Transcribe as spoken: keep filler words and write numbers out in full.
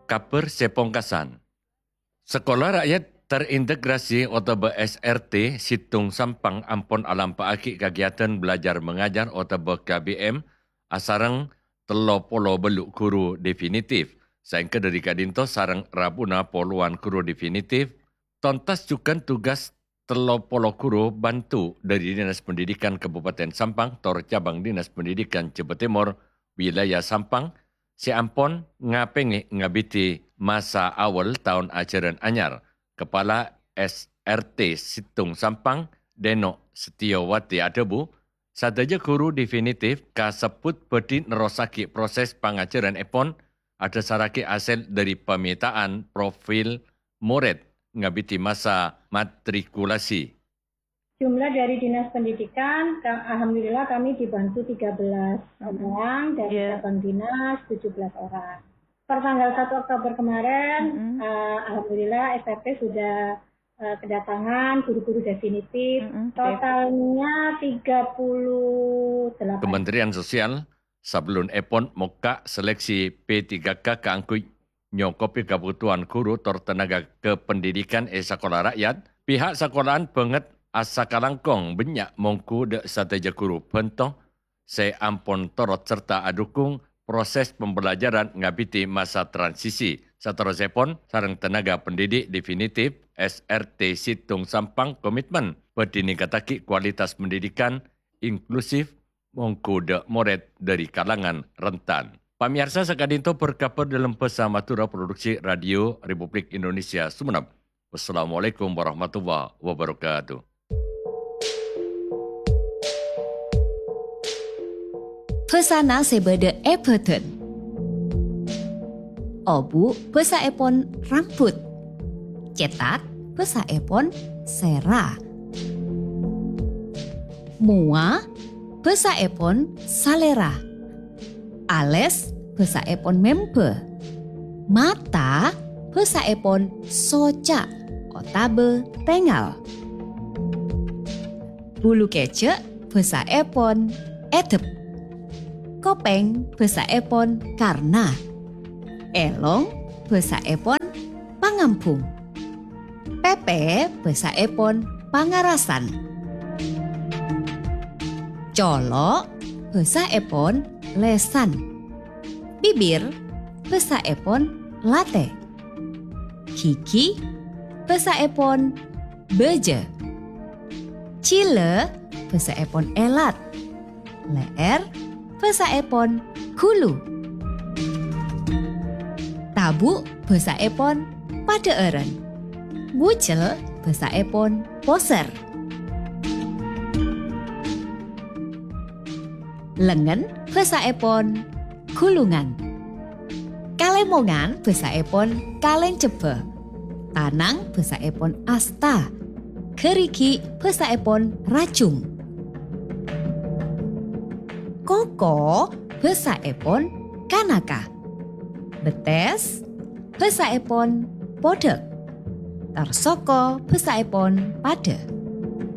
Kabhâr sè pongkasan. Sakola Rakyat Terintegrasi otabâ S R T Situng Sampang ampon alampa'aghi kagiatan belajar mengajar otabâ K B M asareng tello polo bâllu' ghuru definitif, saèngghâ dhâri ka'dinto sareng rabuna polowan ghuru definitif, tontas jhughân tugas tello polo ghuru bantu dhâri Dinas Pendidikan Kabupaten Sampang tor Cabang Dinas Pendidikan Jhâbâ Tèmor, wilayah Sampang, sè ampon ngapèngè ngabidhi masa awal taon ajhârân anyar. Kepala S R T Situng Sampang, Deno Setiyowati adhâbu, sadhâjâ ghuru definitif kasebbhut bhâdhi nerrossaghi proses pangajhârannèpon adhâsarraghi hasèl dhâri pamèta'an profil morèd ngabidhi masa matrikulasi. Jumlah dari Dinas Pendidikan, ka-, alhamdulillah kami dibantu tiga belas Mm-mm. orang, dari Iya. cabang dinas tujuh belas orang. Per tanggal satu Oktober kemarin, Mm-mm. eh, alhamdulillah S R T sudah, eh, kedatangan guru-guru definitif. Mm-mm. Totalnya tiga puluh delapan. Kementerian Sosial, sabellunèpon mokka' seleksi P tiga K kaangghuy nyokobhi kabhutowan ghuru tor tenaga kependidikan è sakola rakyat, pihak sakola'an bângèt asakalangkong bânnya' mongghu dhâ' sadhâjâ ghuru bhânto sè ampon torot sarta adhukung proses pembelajaran ngabidhi masa transisi. Saterrossèpon, sareng tenaga pendidik definitif, S R T Situng Sampang komitmen bhâdhi ningkattaghi kualitas pendidikan inklusif mongghu dhâ' morèd dhâri kalangan rentan. Pamèyarsa, saka'dinto berkabar dalam bahasa Madura, Produksi Radio Republik Indonesia Sumenep. Wassalamualaikum warahmatullahi wabarakatuh. Bhâsana sè bâdâ è bhâdhân. Obu' bhâsaèpon rambut. Cètak bhâsaèpon sèra. Mowa bhâsaèpon salèra. Alès bhâsaèpon membâ. Mata bhâsaèpon soca' otabâ tèngal. Bulu kèjhâ' bhâsaèpon èdhep. Kopèng bhâsaèpon karna. Èlong bhâsaèpon pangambhung. Pèpè bhâsaèpon pangarasan. Colo' bhâsaèpon lèsan. Bibir bhâsaèpon latè. Ghighi bhâsaèpon bâjâ. Jhilâ bhâsaèpon èlat. Lè'èr bhâsaèpon ghulu. Tabu' bhâsaèpon padhâ'ârân. Bujel bhâsaèpon posèr. Lengngen bhâsaèpon ghulungan. Kalèmongan bhâsaèpon kalèncebbhâ. Tanang bhâsaèpon asta. Ghârighi' bhâsaèpon rajung. Koko bhâsaèpon kanaka. Bettès bhâsaèpon podhâk. Tor soko bhâsaèpon padhâ.